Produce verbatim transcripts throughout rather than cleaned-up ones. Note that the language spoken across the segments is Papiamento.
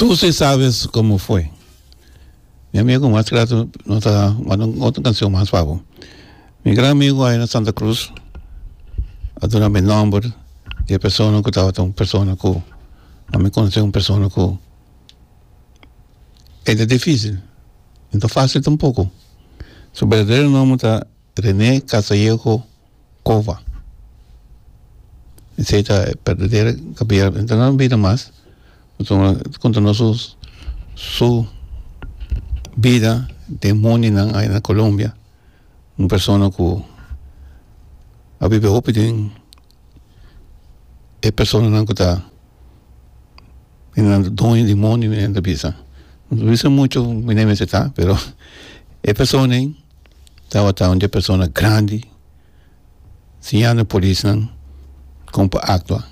Tú sí sabes cómo fue. Mi amigo mas claro no ta otro canción mas pa bo. Mi gran amigo ey na Santa Cruz a duna mi nomber di e persona cu tabata un persona cu ami conoce, un persona cu e ta dificil, no ta facil tampoco. Su berdadero nomber ta René Casallejo Cova. Esey ta e berdadero caballero. Anto no bida mas. Conta nos su, su bida den mondinan ey na Colombia. Un persona cu a biba hopi den e personanan cu ta nan doño di mondi, mi ta bisa. No bisa mucho mi no mester ta, pero e persona ey tabata un persona grandi siñando polisnan con pa actua,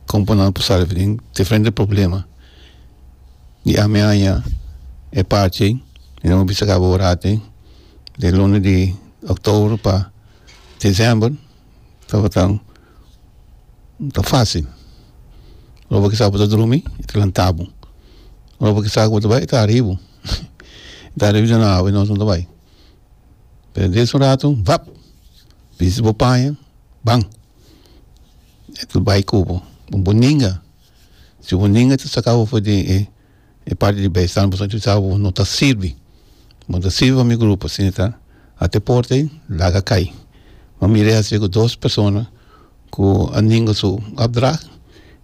con pa nan por sali den diferente problema. Y ami haña e parti, y no bisa caba ora di luna di october pa december, tabata ta facil. Ora bo sa bo ta drumi, e ta lanta bo. Ora bo sa cu bo ta bay, e ta ariba. E ta ariba na awa, nos no ta bay. Pero des un rato, vap, bisti bo paña, bam. E ta bay cu bo. Bo ninga. Si bo ninga, ta saca bo for di e, e parti di bijstand, bo sa bo no ta sirbi. No ta sirbi pa mi grupo, asina ta. Ate porta, laga cay. Ma mira asina cu dos persona cu a ninga su opdracht,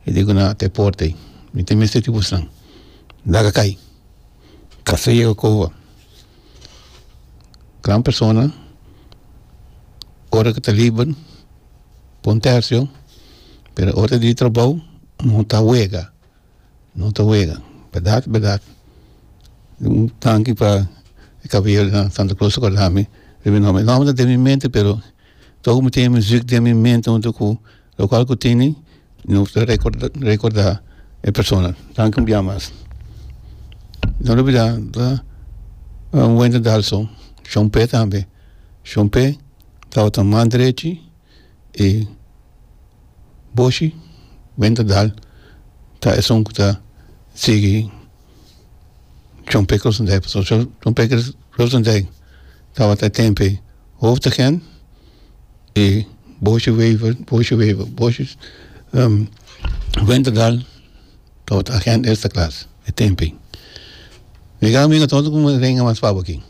y digo na te porta. Mi tin mester di busnan. Laga cay. Casallejo Cova. Gran persona, ora cu ta liber, bon tercio, pero ora di trabou, no ta wega. No ta wega. Berdad, berdad. Un danki pa e caballero na Santa Cruz corda mi. Mi nomber, nomber ta den mi mente, pero toch mi tin muziek den mi mente hunto cu locual cu tin, no ta recorda, recorda e persona. Danki un bia mas. No lubida, ta un Wendel Dalso, Chompe tambe. Chompe tabata man drechi y Boshi Wendel Dal ta esun cu ta sigui Chompe Krosendijk. So Chompe Krosendijk tabata tempo hoofdagent y Boshi Wever, Boshi Wever, Boshi um, Wendel Dal tabata agent eerste klas, e tempo. Mi amigo todo como renga mas pa aki.